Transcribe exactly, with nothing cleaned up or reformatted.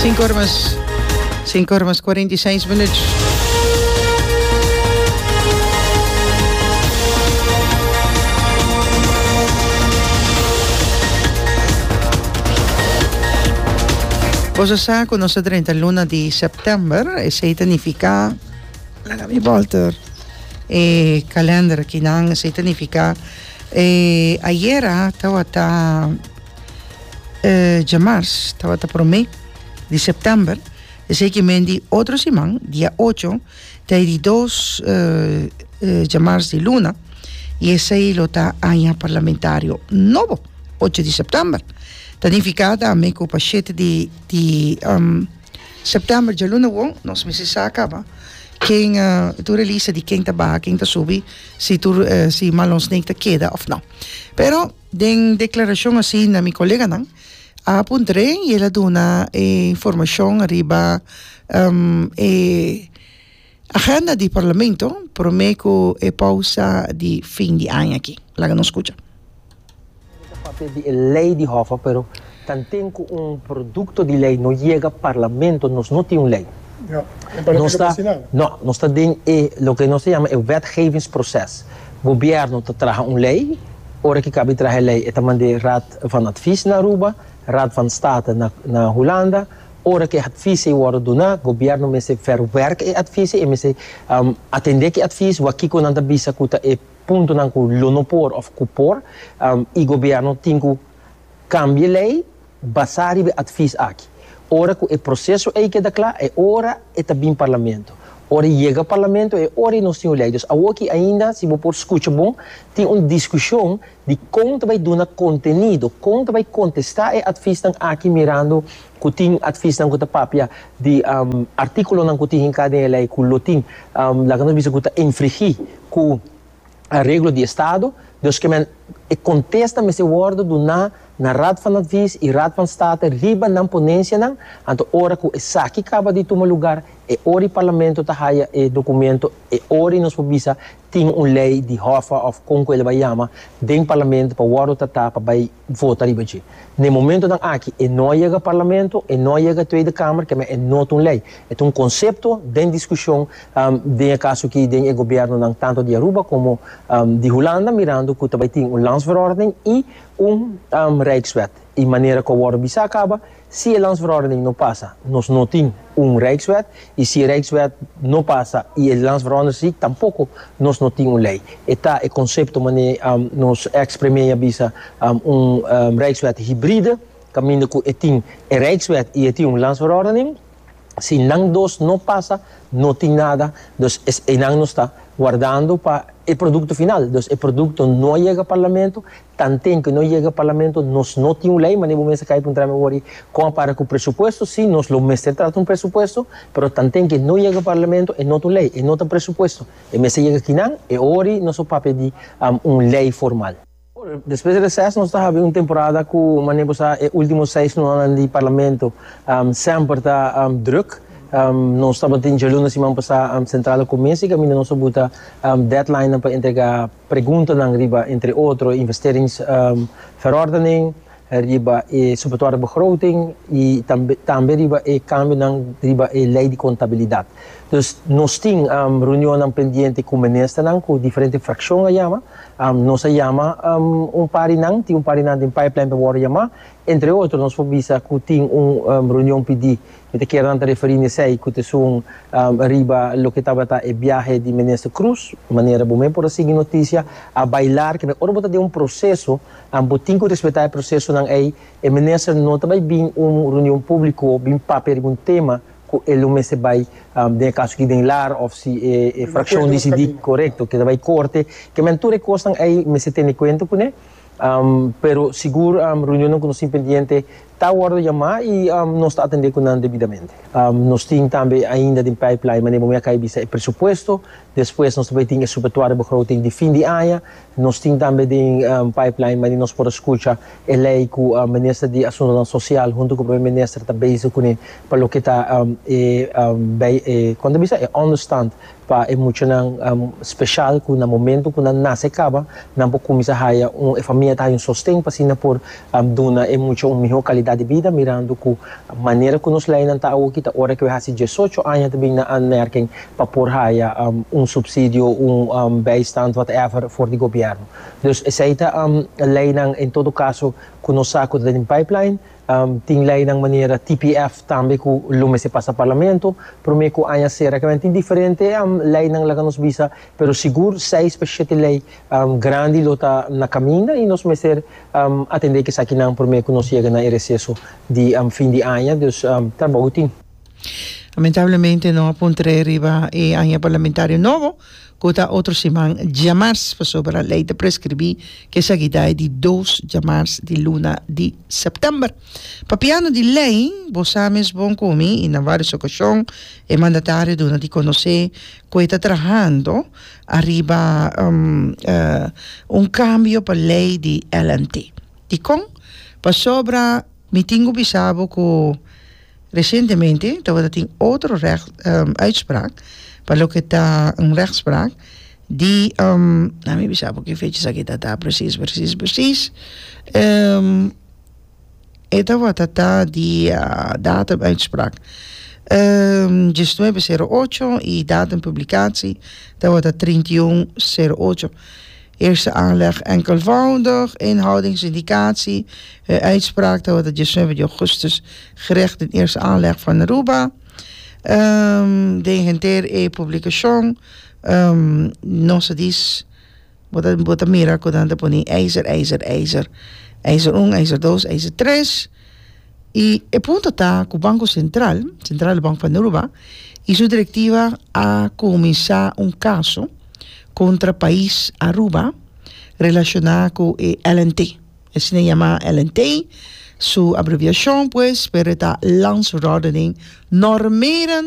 Sinku or mas sinku or mas kuarenta i seis minuut. Boso sa ku nos a drenta luna di sèptèmber, esei ta nifiká, laga mi bòlter e kalènder akinan, esei ta nifiká e ayera tabata djamars, tabata promé di sèptèmber, esei ki men di otro siman, dia ocho, ta e di dos djamars di luna, i esei lo ta aña parlamentario nobo, ocho di sèptèmber. Ta nifiká tambe ku pa shete di di sèptèmber djaluna wou nos mester sa kaba ken tur e lista di ken ta baha, ken ta subi, si tur si Marlon Snake ta keda òf no. Pero den deklarashon asina mi koleganan a puntr'é i el a duna e informashon riba e agenda di parlamento promé ku e pousa di fin di aña aki. Laga nos skucha. Ta papia di e ley di Hoffa, pero tanten cu un producto di ley no yega Parlamento nos no tin un ley. Nos ta, no, nos ta den e loke nos ta yama e wetgevingsproces. Gobierno ta traha un ley, ora ki cabi traha e ley e ta mande Raad van Advies na Aruba, Raad van State na na Hulanda, ora ki e advies ei wordo duna, gobierno mester verwerk e advies ei, e mester atende ki advies, wak kico nan ta bisa cu ta e puntonan ku lo no por òf ku por i gobièrnu tin ku kambia e lei basá riba e atvis aki. Ora ku e proseso ei keda kla, e ora e ta bin parlamento. Ora e yega parlamento e ora ei nos tin un lei. Dus awoki ainda, si bo por skucha bon, tin un diskushon di kon ta bai duna kontenido, kon ta bai kontestá e atvisnan aki mirando ku tin atvisnan ku ta papia di artíkulonan ku tin hinká den e lei ku lo tin, laga nos bisa ku ta infringí ku areglo di estado, dus ke men e kontesta mester wòrdu duná na Raad van Advies i Raad van State riba nan ponensianan, anto ora ku esaki kaba di tuma lugar e ora i Parlamento ta haya e dokumento, e ora i nos por bisa tin un lei di Hoffa òf kon ku el a bai yama den Parlamento pa wòrdu tratá pa bai vota riba dje. Na e momentonan aki e no a yega Parlamento, e no a yega Tweede Kamer, ke men e no ta un lei. E ta un konsepto den diskushon den e kaso aki den e gobièrnunan tantu di Aruba komo di Hulanda mirando ku ta bai tin un landsverordening i un Rijkswet. I manera ku a wòrdu bisá kaba, si e landsverordening no pasa nos no tin un Rijkswet i si e Rijkswet no pasa i e landsverordening si tampoko nos no tin un lei. E ta e konsepto manera nos eks premier a bisa un Rijkswet hibride kaminda ku e tin e Rijkswet i e tin un landsverordening. Si nan dos no pasa, no tin nada, dus es einan nos ta wardando pa e producto final. Dus e producto no a yega Parlamento, tanten cu no yega Parlamento nos no tin un ley, manera bo mester cay puntra mi awor con a para cu presupuesto, si nos lo mester trata un presupuesto, pero tanten cu no yega Parlamento e no ta un ley, e no ta presupuesto, e mester yega kinan, e ori nos lo papia di un ley formal. Despues di reces nos ta habi un temporada cu manera bo sa e ultimo seis lunanan di Parlamento semper ta druk. Nos tabatin djaluna siman pasa Centrale Commissie caminda nos a buta deadlinenan pa entrega preguntanan riba entre otro investeringsverordening, riba e suppletoire begroting y tambe riba e cambionan riba e ley di contabilidad. Dus nos tin reunionnan pendiente cu ministernan cu diferente fraccion a yama. Nos a yama un par di nan, tin un par di nan den pipeline pa worde yama. Entre otro nos por bisa cu tin un reunion pidi, mi ta kier nan ta referi na esey, cu ta esun riba loke tabata e biahe di minister Croes, manera bo men por a sigui noticia, a bailar, kende ora bo ta den un proceso, bo tin cu respeta e procesonan ey, e minister no ta bay bin un reunion publico bin papia riba un tema cu e lo mester bay, den e caso aki den lar of si e fraccion dicidi corecto cu ta bay corte, ke men tur e cosnan ey mester tene cuenta cune, pero sigur reunionnan cu nos tin pendiente ta wordo yama y nos ta atende cu nan debidamente. Nos tin tambe ainda den pipeline, manera bo mi a cay bisa, e presupuesto, despues nos ta bay tin e suppletoire begroting di fin di aña, nos tin tambe den pipeline manera nos por a scucha e ley cu Minister di Asuntonan Social hunto cu Primer Minister ta bezig cune pa loke ta e bay e, con ta bisa, e onderstand Pa e muchanan um, special ku na momento ku nan nase kaba, nan por kuminsá haya un e famia ta un sosten pa asina por um, duna e mucha un mihó kalidat di bida, mirando ku manera ku nos leinan ta awo kita ora ku hasi diesocho aña tambe na aanmerking pa por haya um, un subsidio, un um, bijstand, whatever, voor di gobièrnu. Dus esei ta um, leinan en todo kaso ku nos sa ku den pipeline. um, tin leinan manera T P F tambe ku lo mester pasa parlamento promé ku aña sera, ku tin diferente um, leinan, laga nos bisa, pero sigur seis pa shete lei um, grandi lo ta na kaminda i nos mester um, atendé ku esakinan promé ku nos yega na reseso di um, fin di aña. Dus um, trabou tin. Lamentablemente no a puntra riba e aña parlamentario nobo, ku ta otro siman djamars, pasobra lei ta preskribí ku esaki ta di dos djamars di luna di sèptèmber. Papiando di lei, bo sa mes bon ku mi, i na vários okashon, e mandatario a duna di konosé ku ta trahando ariba um, uh, un kambio pa lei di L N T. Dikon? Pasobra mi tin ku bisa bo ku resientemente tabatin otro recht, um, uitspraak pa loke ta un rechtspraak di um, nou, mi bisa bo ki fecha esaki ta precies precies precies um, e tabata ta di uh, datum uitspraak um, diesnuebe sero ocho i datum publicatie tabata trinta i un sero ocho. Eerste aanleg enkelvoudig, inhoudingsindicatie, uh, uitspraak, dat wordt diesnuebe augustus, gerecht in eerste aanleg van Aruba. Um, den henter e publikashon, um, nos dis, bo ta mira ku nan ta pone eiser, eiser, eiser, eiser un, eiser dos, eiser tres. I e punto ta ku Banko Sentral, Centrale Bank van Aruba, i su direktiva a kuminsá un kaso kontra pais Aruba relashoná ku L N T. Esei yama L N T, su abreviashon pues, pero ta Landsverordening Normerend.